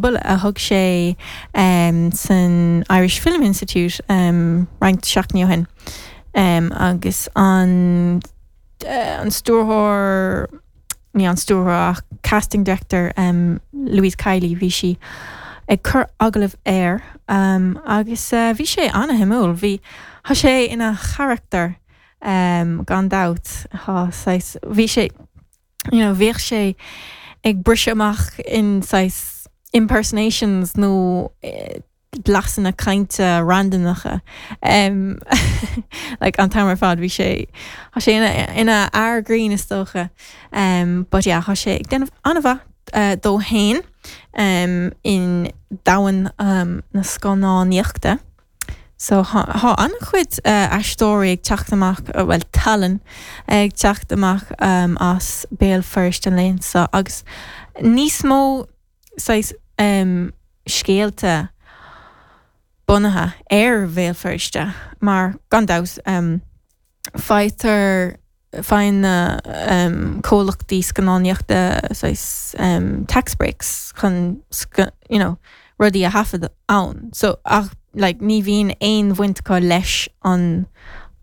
A thug sé san Irish Film Institute roinnt seachtainí ó shin agus an an stiúrthóir, ní an stiúrthóir ach casting director Louise Kiely, bhí sí ag cur agallamh air agus bhí sé an-shuimiúil. Bhí, tá sé ina charachtar gan dabht, tá saghas, bhí sé, you know, bhíodh sé ag briseadh amach in saghas impersonations nó blasanna cainte randamacha um, like an t-am ar fad bhí sé tá sé ina, ina fhear grinn is dócha um, but yeah, tá sé ag déanamh an-mhaith uh, dó féin um, in domhan um, na scannánaíochta. So thá an-chuid aisteoirí ag teacht amach, bhuel tallann ag teacht amach as Béal Feirste an laethanta seo agus níos mó saghas scéalta bunaithe ar Bhéal Feirste mar gan dabht faightear faigheann na comhlachtaí scannánaíochta saghas tax breaks chun you know rudaí a thaifead ann. So ach like ní bhíonn aon bhaint acu leis an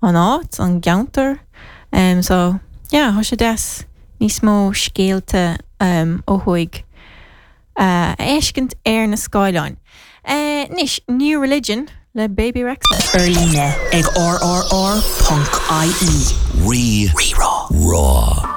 an áit, an gceantar. So yeah tá sé deas níos mó scéalta ó thuaidh. a fheiscint ar na scáileáin. Anois, New Religion le Bebe Rexha. Ar líne ag rrr.ie. Rí Rá.